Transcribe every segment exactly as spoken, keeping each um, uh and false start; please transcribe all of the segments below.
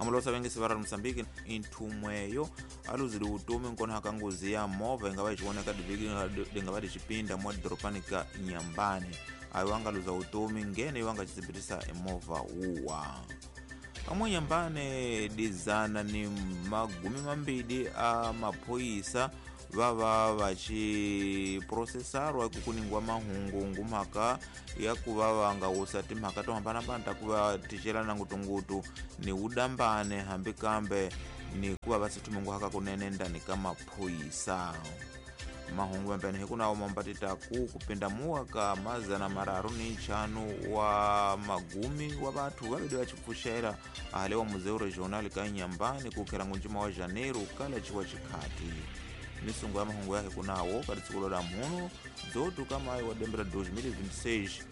Amalosa vengisi va ra Mozambique inthumweyo aluzile utomi nkona ka ngozi ya movha inga va xivoneka diviki dinga va dixipinda mwa doropani ka Inhambane ayo anga luza utomi ngene iwo anga xitsibitisa emovha wuwa amwe Inhambane dizana ni magumi mambili a maphoyisa vava vachiprocessarwa kukuningwa mahungu ngumhaka ya kuva vanga wusa timhaka to hambanahambana ta kuva ticelana ngutungutu ni udambane hambi kambe ni kuva va sithuminguhaka kunene ndani ka maphoyisa mahungu mambene hikunawo mambatita ku kupinda muwa ka mazana mararu ni nchanu wa magumi wa vathu vavili va chipfuxela ahale wa Museu Regional ka Inhambane kukhela ngunjima wa Janeiro kala chiwa chikhati misungu ya mahungu yake kunawo ka litsikulo la mhuno dzotu kamayi wa dembe la dois mil e vinte e seis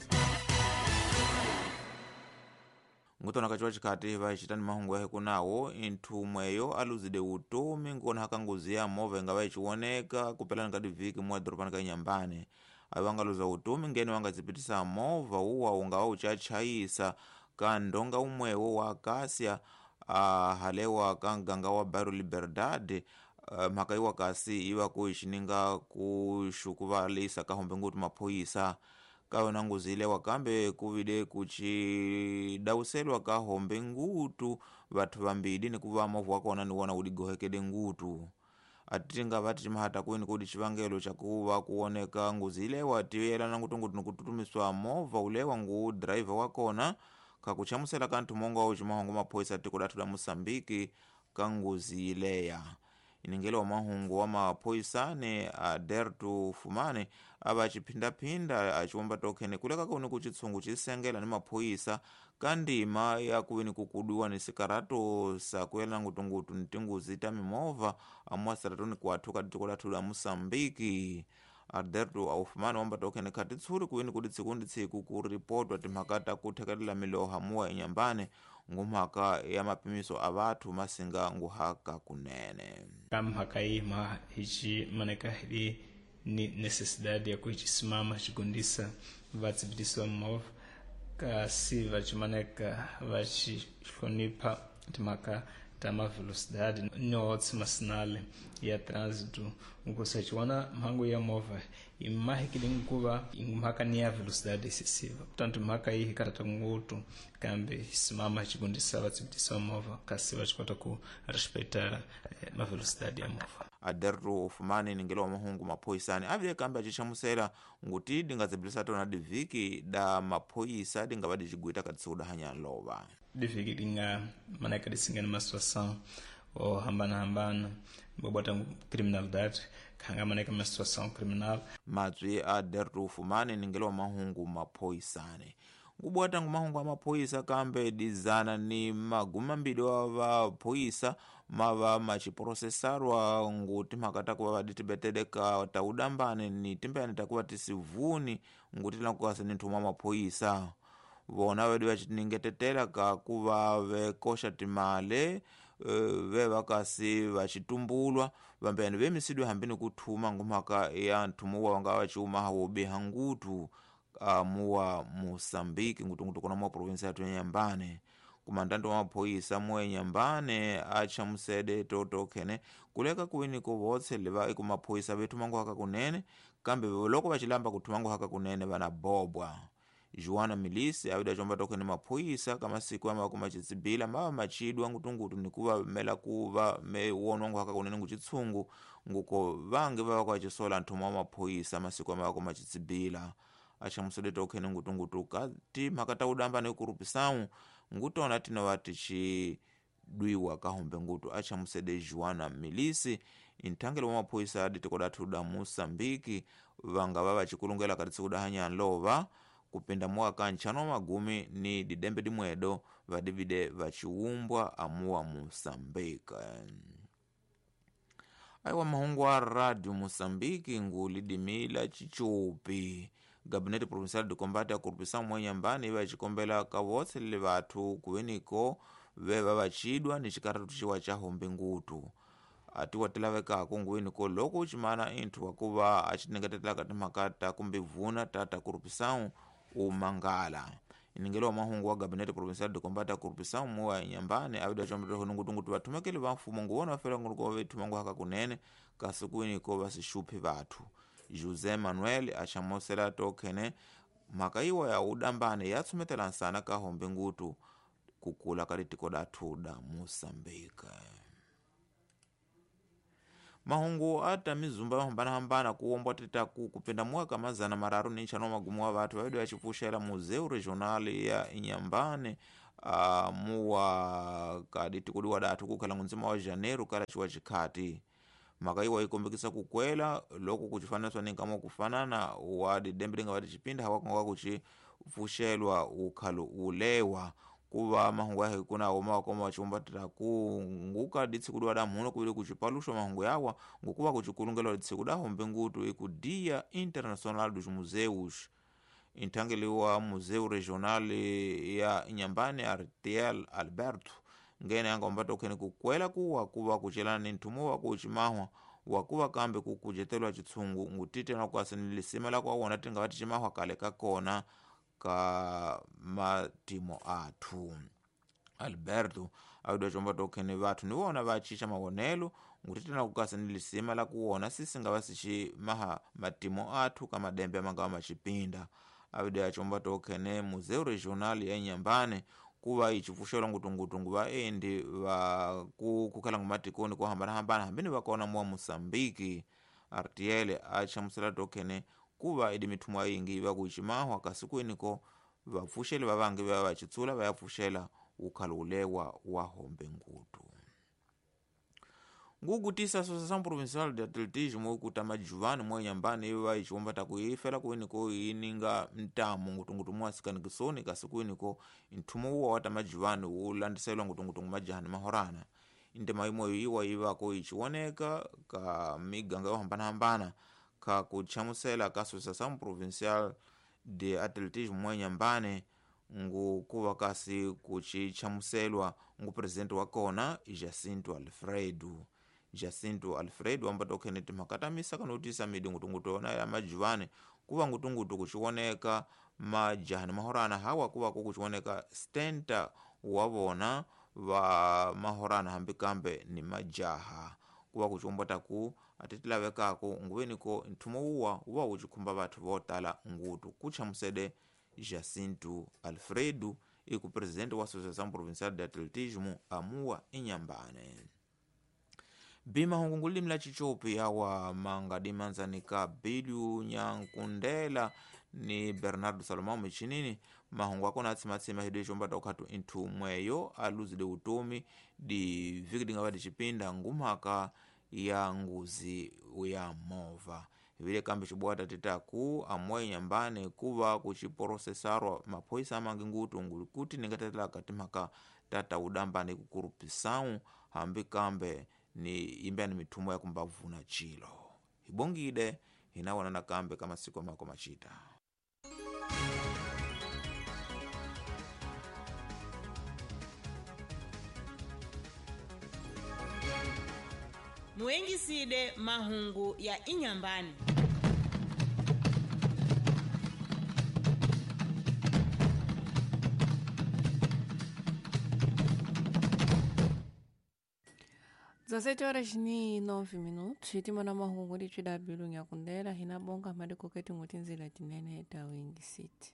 ngutona kachiwa chikhati vachitani mahungu yake kunawo inthumweyo aluzide utomi nkona haka ngozi ya movha inga vayichiwoneka kupelani ka diviki mwa doropani ka Inhambane ayo angaluza utomi ngene wangadzipitisa movha uwa ungawa uchachayisa ka ndonga umwewo wa Acacia ahalewa ka nganga wa Bairro Liberdade. Uh, mhaka iwa kasi iva ku xininga ku xukuvalisa ka hombe ngutu maphoyisa ka yona ngozi ilewa kambe ku vile ku xidawuselwa ka hombe ngutu vathu vambili ni ku va movha wa kona ni wona wu digohekele ngutu ati nga vati ximahata kwini ku di xivangelo xa ku va ku voneka ngozi ilewa ti yelana ngutungutu ni ku tutumiswa movha ulewa ngu driver wa kona ka ku chamusela ka nthumongo wa ximahungu maphoyisa tiko lathu la Mozambique ka ngozi ileya iningelo wa mahungu wa maphoyisane Aderto Fumane ava chiphindaphinda achiwomba tokhene kuleka kuni ku chitsungu chisengela ni maphoyisa ka ndima ya kuveni kukudiwa ni sikarato sa kuyelana ngutungutu ni tinguzi ta mimovha amuasaratoni kuathu ka tiko lathu la Mozambique. Aderto Aufumane womba tokhene khati tshuri kuveni kudi tsiku ndi tsiku ku ripotwa timhaka ta ku thekelela miloha muwa Inhambane ngumhaka ya mapimiso a vathu masinga nguhaka kunene ka mhaka yi ma hi maneka hi ni necessidade ya ku chisimama chigundisa vatsibitisiwa movha kasi vachimaneka vachihlonipha timhaka ta mavelocidade no masinale ya trânsito nkusachiwana mhangu ya movha imahikile nkuva mhaka ni ya velocidade excessiva portanto mhaka iyi hikarata ngutu kambe simama chigundisa vatsibitisiwa movha kasi vachikota ku respeitar eh, mavelocidade ya movha. Aderto Fumane ningelo wa mahungu maphoyisani avile kambe achichamusela nguti dingadzibirisa tona diviki da maphoyisa dingava dicigwita katsiku hanya lova diviki dinga maneka disingana uma situação ou hambana hambana bobota criminalidade khanga maneka uma situação criminal matswi Aderto Fumane ningelo wa mahungu maphoyisani ngubwata ngumahungu a maphoyisa kambe dizana ni magumi mambili wa vaphoyisa mava machiprocessarwa nguti mhaka ta kuva vaditibetele ka ta udambane ni timbeyani ta kuva tisivuni nguti lankukasa ni nthuma maphoyisa vona vedu vachiningetetela ka kuva vekoxa timale ve va kasi vachitumbulwa vambeni vemisidwe hambi ni kuthuma ngumhaka ya nthumo wa nga vachiumaha wo biha ngutu Uh, muwa Mozambique ngutungutu kona muwa provinsi yathu ya Inhambane kumandando wa maphoyisa muwa Inhambane achamusede totokhene kuleka kuwini kuvotse leva eku maphoyisa vethu manguhaka kunene kambe loko vachilamba kuthu manguhaka kunene vana bobwa. Joana Milisi avida chomba tokhene maphoyisa kamasiku ama kumachitsibila mava machidwa ngutungutu nikuva mela kuva mewonwa nguhaka kunene nguchitsungu nguko vange vava kwachisola nthumo wa maphoyisa masiku ama kumachitsibila achamusele tokhene ngutungutu kati mhaka ta udamba ni kurupisawu ngutona tinova tichidwiwa kahombe ngutu achamusede Joana Milisi inthangelo wa maphoyisa aditiko dathu da Mozambique vanga va vachikulungela kati tsiku da lova kupinda mwaka nchano magumi ni didembe dimwedo vadivide vachiumbwa amuwa Mozambique. Aiwa mahungu a Radio Mozambique ngulidimila chichupi Gabinete Provincial de Combate a Corrupção mwa Inhambane iva chikombela kavotse lile vathu kuveniko veva vachidwa ni chikaratu chiwa cha hombe ngutu atiwa tilavekako nguweniko loko uchimana inthu wakuva achiningetetela timhaka ta kumbe vuna tata corrupção umangala Iningelo wa mahungu wa Gabinete Provincial de Combate à Corrupção muwa Inhambane avida chombetero nungutungutu vathumekeli va mfumo nguwona vafela nguluko vethuma haka kunene kasi kwiniko vasixuphi vathu. José Manuel axamosela tokhene mhaka iwa ya udambane yatsumetela nsana ka hombe ngutu kukula ka litiko dathu da Moçambique. Mahungu ata mizumba yo hambanahambana kuombwa titaku kupinda mwaka mazana mararu ni nchano magumu wa vathu vaidi vachipuxela Museu Regional ya Inhambane uh, muwa kaditiko diwa dathu kukhala ngunzima wa Janeiro kala chiwa chikhati. Mhaka iwa ikombekisa kukwela loko kuchifanaswa ni nkama kufanana wa didembe linga vati chipinda hawakonga kuchipfuxelwa ukhalo ulewa kuva mahungu yahe kuna oma wakoma wachiumbatira kunguka ditsi kudiwa da mhuno kuvili kuchipaluxwa mahungu yawa ngukuva kuchikulungelwa ditsi kuda hombe ngutu iku Dia Internacional dos Museus. Inthangeliwa Museu Regional ya Inhambane Artiel Alberto ngene yanga umbata ukhene kukwela kuwa kuva kuchelana ni nthumo wa kuchimahwa wakuva kambe kukujetelwa chitsungu ngutite na kuasi ni lisima la kuwawona tinga vati chimahwa kale kakona ka matimo athu. Alberto awidwa chomba tokhene vathu niwona vachicha mawonelo ngutite na kukasi ni lisima la kuwona sisi nga vasichimaha matimo athu kamadembe amanga machipinda. Awidwa chomba tokhene Museu Regional ya Inhambane kuva ichifuxelwa ngutungutungu vaendi va kukhala ngumatikoni ko hambanahambana hambini vakona muwa Moçambique. Artiel achamusela tokhene kuva idi mithumo yingi iva kuchimahwa kasi kwiniko vapfuxeli va vangi va vachitsula va ya pfuxela ukhalo ulewa wa hombe ngutu. Ngukutisa Associação Provincial de Atletismo ikuta majuvani mwa Inhambane iva ichiwombata kuifela kwiniko ininga ntamu ngutungutu mwasikani kasi kwiniko nthumo uwa wata majuvani ulandiselwa ngutungutu majahani mahorana. Indema imweyo iwa ivako ichiwoneka ka miganga yo hambanahambana ka kuchamusela ka Associação Provincial de Atletismo mwa Inhambane ngukuva kasi kuchichamuselwa ngu presidente wa kona Jacinto Alfredo. Jacinto Alfredo ambata ukhene timhaka ta misaka notisa midi ngutungutu yona ya majuvani kuva ngutungutu kuchiwoneka majahani mahorana hawa kuva kukuchiwoneka stenta wa vona va mahorana hambi kambe ni majaha kuva kuchiwombata ku atitilavekako nguveniko nthumo uwa uva wuchikhumba vathu votala ngutu kuchamusede Jacinto Alfredo iku presidente wa Associação Provincial de Atletismo amuwa Inhambane. Bima hungu limi la chichopi yawa manga dimanzanika Bilyu Nyankundela ni Bernardo Salomão michinini mahungu akona atsimatsima hidu ichombata ukhatu inthu mweyo aluzile utomi di viki dingava dicipinda ngumhaka ya nguzi ya mova. Vile kambi chibwata titaku amwe Inhambane kuva kuchiporosesarwa maphoisa amangi ngutu ngulikuti ningatetela katimhaka tata udambane kukurupisau hambi kambe ni imbani mithumo ya kumbavuna chilo. Hibongide hinawonana kambe kama siku mako machita. Muengiside mahungu ya Inhambane. dezessete horas ni nove minutos hitima na mahungu litwi da bilu nyakundela hina bonga madiko keti ngutinzila tinene ta wingi city.